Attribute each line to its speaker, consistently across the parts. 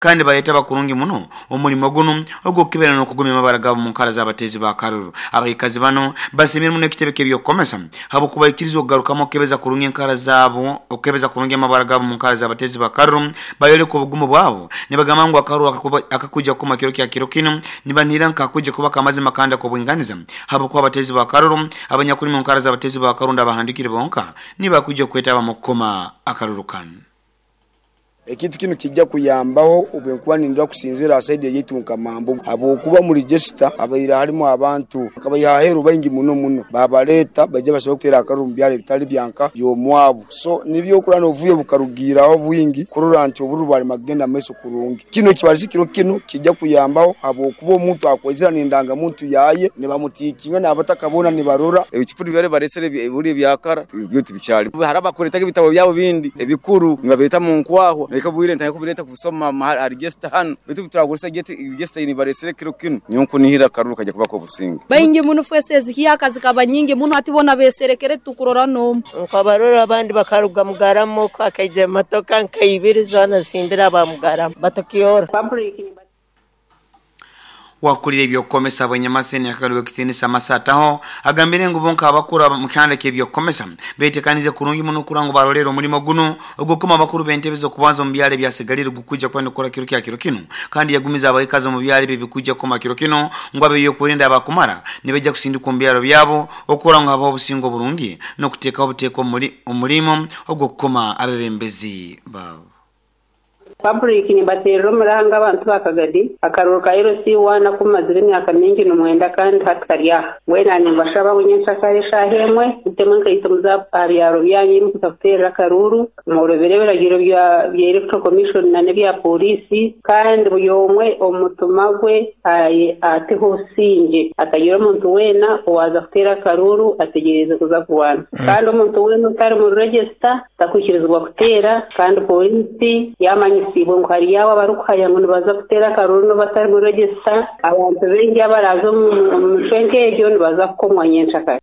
Speaker 1: Kandi bayetaba kurungi muno omulimo gunu ogw'okukebera n'okugumya amabara gaabo mu nkara z'abateezi ba karuru. Abaikazi banu basiimire muno ekitebe ky'ebyokukomesa habw'okubaikiriza okugarukamu okukebeza kurungi enkara zaabo okukebeza kurungi amabara gaabo mu nkara z'abateezi ba karuru. Bayoleka obugumu bwabo nibagamba ngu akaruru akakwija kukoma kiro kya kiro kinu nibanihira nkakwija kuba k'amazima kandi ak'obwinganiza habwokuba abateezi ba karuru abanyakuli mu nkara z'abateezi ba karuru abahandiikire bonka nibo bakwija okwetaba mu kukoma akaruru kanu.
Speaker 2: Ekintu kinu kijja kuyambaho obwenkuba nindora kusinzira ha saidi eyaitu nka Mambugu habwokuba omu register habaire harimu abantu bakabaiha aheru baingi muno muno babaleta baija basobole kutera akaruru omu byaro ebitali byanka byomwabu so nibyo okurora nobuvuyo bukarugiiraho bwingi kurora nti obururu bwalema kugenda mumaiso kurungi. Kinu ekibarisi kiro kinu kijja kuyambaho habwokuba omuntu akwizira nendanga muntu yaye nibamutikinga nabataka boona nibarora.
Speaker 3: Ebicupuri bibare baresere ebihuri ebyakara byo tibikyali. Hariho abakuretaga ebitabo byabo bindi ebikuru nibabireta mu nkwahwa leka obwire ntandika kubireta kubisoma aha register hanu baitu obuturakozesa register ei baresere kiro kinu nyowe nkunihira akaruru kaija kuba k'obusinge.
Speaker 4: Baingi muno fwesi ezihyaka zikaba nyingi muno hati bona beserekere tukurora n'omu.
Speaker 5: Nkabarora abandi bakaruga Mugarama oku hakaija emotoka nka ibiri zoona zisimbire aba Mugarama batakiora.
Speaker 1: Wakulira eby'okukomesa bw'enyamaseni akagaruka ekitiinisa Masataho agambire ngu bo nk'abakuru mu kihanda ky'ebyokukomesa betekanize kurungi muno kurora ngu barolera omulimo gunu ogw'okukoma abakuru b'entebe z'okubanza omu byaro ebyasigalire gukwija kuba nikukora kiro kya kiro kinu kandi yagumiza abaikazi omu byaro ebi ebikwija kukoma kiro kinu ngu ab'ebyokwerinda abakumara nibaija kusindikwa omu byaro byabo okurora ngu habaho obusinge oburungi n'okuteekaho obuteeka omulimo ogw'okukoma abebembezi baabo.
Speaker 6: Public nibaterera omuranga abantu ba Kagadi akaruru ka LC1 aku mazire emyaka mingi nimwenda kandi hati kari aha. Mbwenu nimbashaba ngu nyenkyakare eshaaha emwe mutemu enkaito muze aha byaro byanyu mukuza kuteerera akaruru mworobere ebiragiro bya Electoral Commission n'ebya pooriisi kandi buri omwe omu mutima gwe ateho obusingye hatagira omuntu weena owaaza kuteera akaruru ategyereize kuza kurwana kandi omuntu weena otari mu register takwikirizibwa kuteera kandi pooriisi yamanyisiibwe ngu hariyo abo abarikuhaya ngu nibaza kuteera akaruru n'obatari mu register abantu baingi abaraaza omu micwe nk'egyo nibaza kukomwa nyenkyakare.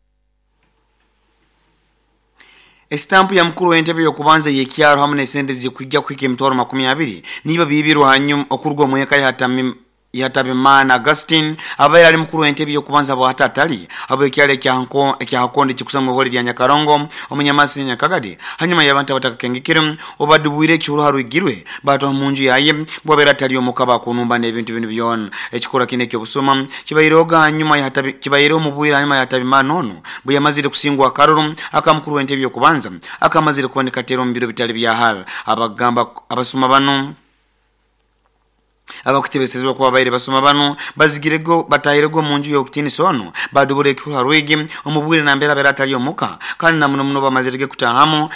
Speaker 1: Esitampu ya mukuru w'entebe y'okubanza y'ekyaro hamu n'esente zikwijja kuhika emitwaro 20 niba biibirwe hanyuma okuruga omu eka ya Hatabimana Augustine abaire ali mukuru w'entebe y'okubanza bwahatatali habw'ekyaro ekya Hakondo ekikusangwa ibole lya Nyakarongo omunyamasi Nyakagadi hanyuma y'abantu abatakakengekere obadubwire ekihuru harwigirwe batwaha munju yaye bwabaire atali omuka bakunumba n'ebintu binu byona. Ekikorwa kinu eky'obusuma kibairehoga hanyuma kibaireho omu bwire hanyuma ya Hatabimana onu bwe yamazire kusingwa akaruru aka mukuru w'entebe y'okubanza akamazire kuba nikateera omu biro bitali bya hara. Abagamba abasuma banu abakutebesezebwa kuba baire basoma banu bazigirego batahirego omunju y'okutiinisa ono badubura ekihuru harwigi omu bwire nambere abaire atali omuka kandi na muno muno bamazirege kutahamu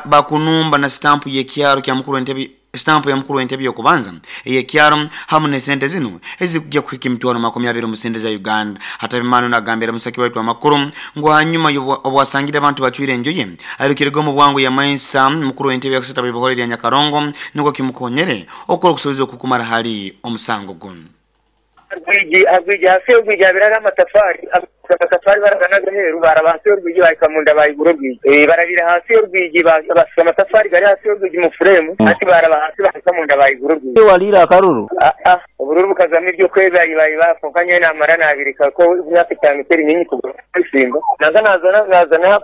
Speaker 1: bakunumba na sitampu y'ekyaro kya mukuru w'entebe sitampu ya mukuru w'entebe y'okubanza ey'ekyaro hamu n'esente zinu ezikujja kuhika emitwaro 20 omu sente za Uganda. Hatabimana nagambira musaki waitu amakuru ngu hanyuma obwasangire abantu bacwire enju ye airukirege omu bwangu yamaisa mukuru w'entebe yakusata bw'ibihore lya Nyakarongo nukwo kimukonyere okukora okusobeza okukumara hali omusango gunu.
Speaker 7: Rwigi hasi y'orwigi habire hariho amatafari amatafari baraganaga aheeru baraba hasi y'orwigi bahika munda bayigura orwigi barabire hasi y'orwigi basiga amatafari gari hasi y'orwigi mu furemu hati baraba hasi bahika munda bayigura orwigi.
Speaker 8: Waliire akaruru?
Speaker 7: Obururu bukazamu ebyokwebayibayi konka nyowe namara nabireka ko emyaka 5 teri nyingi kugura ebisimba naza nazana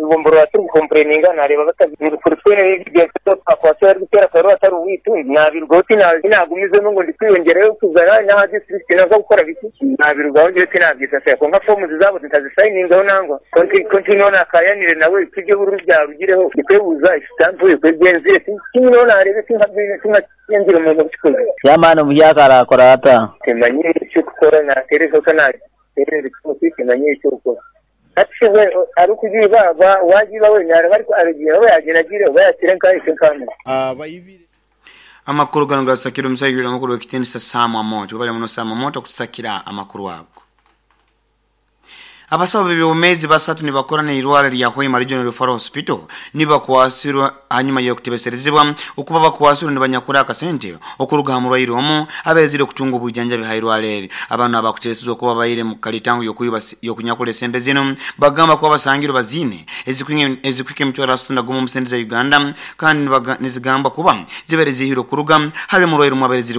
Speaker 7: gomborora turi gukompureninga nareba kuri twene twakwasa bari gutera akaruru atari uwitu nabirugaho tinagumizemo ngo ndi kwiyongerayo kuzana n'aha district naza gukora biki nabirugaho ngiye tinabyisasira konka fomu zabo ntazisayiningaho nangwa konti niho nakayanire nawe tujye bururu byarugireho ndikwebuza isitampu ekwegenzire kimwe narebe tinkagenzire umuntu kikoze.
Speaker 8: Chairman omuhyaka arakora ata?
Speaker 7: Timanyire icyo gukora natereza ko natereza ikimuti timanyire icyo gukora ati we ari kugiba wagiba we naraba ariko aragiye we yagenda agire we yakire nkahe nkamwe.
Speaker 1: Amakuru gano gasakira omusajja amakuru w'ekitiinisa Sam Amoto bali muno Sam Amoto kusakira amakuru ago. Abasawo b'ebyobumezi basatu nibakora n'irwara lya Hoima Regional Referral Hospital nibakwasirwa hanyuma y'okutebeserezibwa okuba bakwasirwa nibanyakura akasente okuruga ha murwaire omu abeezire okutunga obwijanjabi ha irwara eri. Abantu abakuteesezwa okuba baire mu kalitango y'okunyakura esente zino bagamba kuba basangirwe baziine ezikuhika emitwaro 31 omu sente za Uganda, kandi nizigamba kuba zibaire zihirwe okuruga hali murwaire omu abaire ziri.